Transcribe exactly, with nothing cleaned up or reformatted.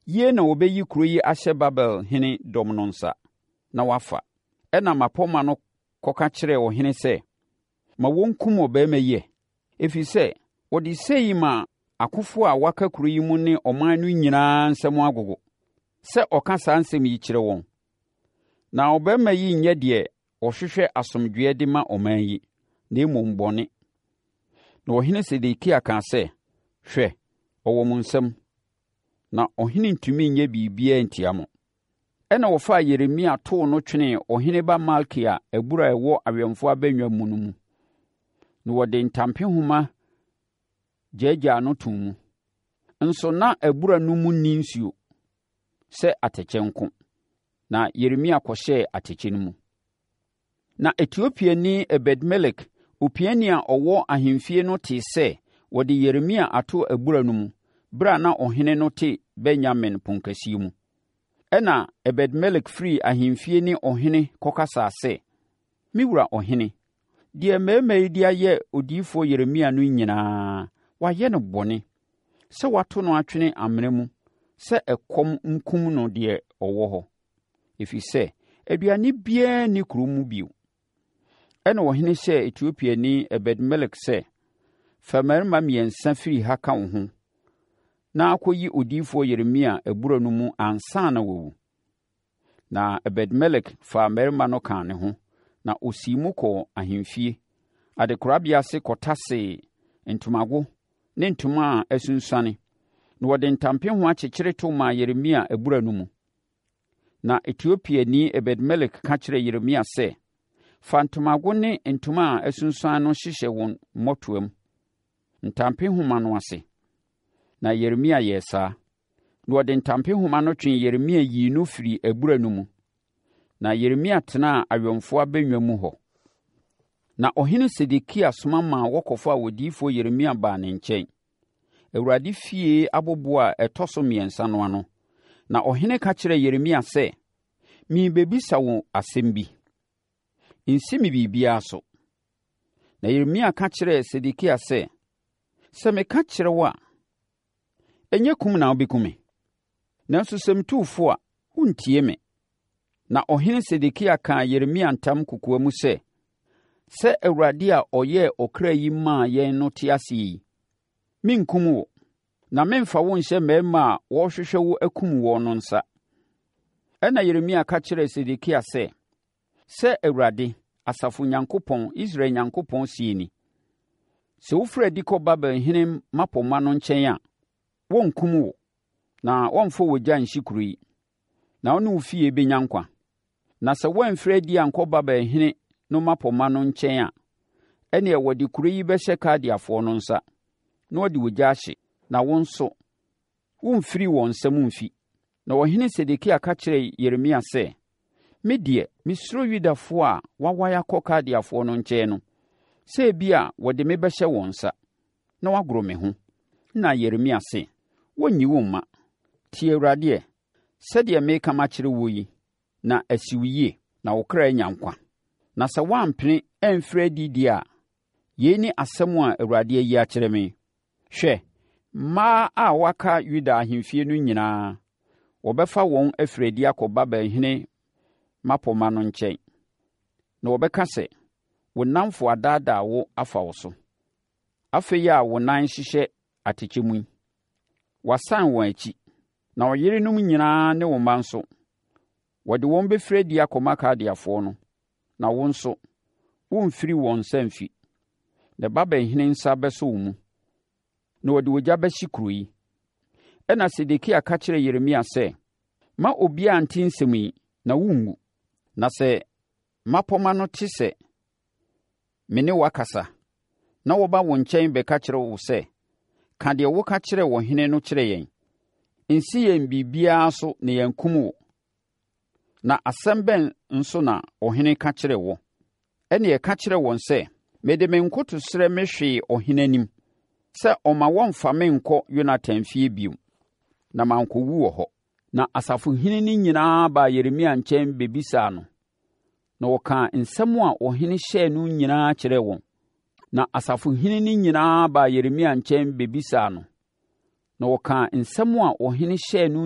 Yie na wɔbɛyi kuro yi ahyɛ Babel hene dɔm no nsa, na wɔafa. Ɛnna mmapɔmma no kɔka kyerɛɛ ɔhene sɛ, Ma wɔnkum ɔbarima yi ɛ, ɛfiri sɛ ɔde sei ma akofoɔ a wɔaka kuro yi mu ne ɔman no nyinaa nsam agogo, sɛ ɔka saa nsɛm yi kyerɛ wɔn. Na ɔbarima yi nyɛ deɛ ɔhwehwɛ asomdwoeɛ de ma ɔman yi, na mmom bɔne. Na ɔhene Sedekia kaa sɛ, Hwɛ, ɔwɔ mo nsam, na ɔhene ntumi nyɛ biribiara ntia mo. Ɛnna wɔfaa Yeremia too no twenee ɔhene ba Malkia abura a ɛwɔ awɛmfoɔ abannwa mu no mu, na wɔde ntampehoma gyaagyaa no too mu. Nso na abura no mu nni nsuo sɛ atɛkyɛ nko, na Yeremia kɔhyɛɛ atɛkyɛ no mu. Na Etiopiani Ebed-Melek, opiani a ɔwɔ ahemfie no tee sɛ wɔde Yeremia ato abura no mu berɛ a na ɔhene no te Benyamin ponkɛseɛ mu. Ɛnna Ebed-Melek firii ahemfie ne ɔhene kɔkasaa sɛ, “Me wura ɔhene, deɛ mmarima yi de ayɛ odiyifoɔ Yeremia no nyinaa, wɔayɛ no bɔne, sɛ wɔato no atwene amena mu sɛ ɛkɔm nkum no deɛ ɔwɔ hɔ, ɛfiri sɛ aduane biara nni kuro mu bio.” Ɛnna ɔhene hyɛɛ Etiopiani Ebed-Melek sɛ, “Fa mmarima mmiɛnsa firi ha ka wo ho na kɔyi odiyifoɔ Yeremia abura no mu ansa na wawu.” Na Ebed-Melek faa mmarima no kaa ne ho, na ɔsii mu kɔɔ ahemfie, adekorabea ase kɔtasee ntomago ne ntoma a asunsuane, na wɔde ntampehoma kyekyere to maa Yeremia abura no mu. Na Etiopiani Ebed-Melek ka kyerɛɛ Yeremia sɛ, “Fa ntomago ne ntoma a asunsuane no hyehyɛ wo mmɔtoam, ntampehoma no ase.” Na Yeremia yɛɛ saa. Na wɔde ntampehoma no twee Yeremia yii no firii abura no mu. Na Yeremia tenaa awɛmfoɔ abannwa mu hɔ. Na ɔhene Sedekia soma maa wɔkɔfaa odiyifoɔ Yeremia baa ne nkyɛn, Awurade fie aboboɔ a ɛtɔ so mmiɛnsa no ano. Na ɔhene ka kyerɛɛ Yeremia sɛ, “Merebɛbisa wo asɛm bi. Nsi me biribiara so.” Na Yeremia ka kyerɛɛ Sedekia sɛ, “Sɛ meka kyerɛ wo a, ɛnyɛ kum na wobɛku me? Nanso sɛ metu wo fo a, worentie me.” Na ɔhene Sedekia kaa Yeremia ntam kokoam sɛ, “Sɛ Awurade a ɔyɛɛ ɔkra yi maa yɛn no te ase yi, merenkum wo, na meremfa wo nhyɛ mmarima a wɔrehwehwɛ wo akum woɔ no nsa.” Ɛnna Yeremia ka kyerɛɛ Sedekia sɛ, “Sɛ Awurade, asafo Onyankopɔn, Israel Onyankopɔn seɛ nie: Sɛ wofiri adi kɔ Babel hene mmapɔmma no nkyɛn a, wɔrenkum wo, na wɔremfa ogya nhye kuro yi, na wo ne wo fie bɛnya nkwa. Na sɛ woamfiri adi ankɔ Babel hene no mmapɔmma no nkyɛn a, ɛnneɛ wɔde kuro yi bɛhyɛ Kaldeafoɔ no nsa, na wɔde ogya ahye, na wo nso, woremfiri wɔn nsam mfi. Na ɔhene Sedekia ka kyerɛɛ Yeremia sɛ, “Me deɛ, mesuro Yudafoɔ a wɔawae akɔ Kaldeafoɔ no nkyɛn no, sɛ ebia wɔde me bɛhyɛ wɔn nsa, na wɔagoro me ho.” Na Yeremia se, “Wɔrenyi wo mma. Tie Awurade ɛ, sɛdeɛ mereka makyerɛ woɔ yi, na asi wo yie, na wo kra anya nkwa. Na sɛ woampene amfiri adi deɛ a, yei ne asɛm a Awurade ayi akyerɛ me. Hwɛ, mmaa a wɔaka Yuda ahemfie no nyinaa, wɔbɛfa wɔn afiri adi akɔ Babel hene mmapɔmma no nkyɛn, na wɔbɛka sɛ, ‘Wo nnamfo adaadaa wo afa wo so. Afei a wo nan hyehyɛ atɛkyɛ mu yi, wɔasan wɔn akyi. Na wo yerenom nyinaa ne wo mma nso, wɔde wɔn bɛfiri adi akɔma Kaldeafoɔ no, na wo nso, woremfiri wɔn nsa mfi. Na Babel hene nsa bɛsɔ wo mu, na wɔde ogya bɛhye kuro yi.” Ɛnna Sedekia ka kyerɛɛ Yeremia sɛ, “Mma obiara nte nsɛm yi, na worenwu. Na sɛ mmapɔmma no te sɛ me ne wo akasa, na wɔba wo nkyɛn bɛka kyerɛ wo sɛ, ‘Ka deɛ woka kyerɛɛ ɔhene no kyerɛ yɛn. Nsi yɛn biribiara so na yɛankum wo. Na asɛm bɛn nso na ɔhene ka kyerɛɛ wo?’ Ɛnneɛ ka kyerɛ wɔn sɛ, 'Mede me nkotosrɛ mehwee ɔhene anim sɛ ɔmma wɔmmfa me nnkɔ Yonatan fie bio, na mankɔwu wɔ hɔ.’” Na asafohene no nyinaa baa Yeremia nkyɛn bɛbisaa no, na ɔkaa nsɛm a ɔhene hyɛɛ no nyinaa kyerɛɛ wɔn. Na asafohene no nyinaa baa Yeremia nkyɛn bɛbisaa no, na ɔkaa nsɛm a ɔhene hyɛɛ no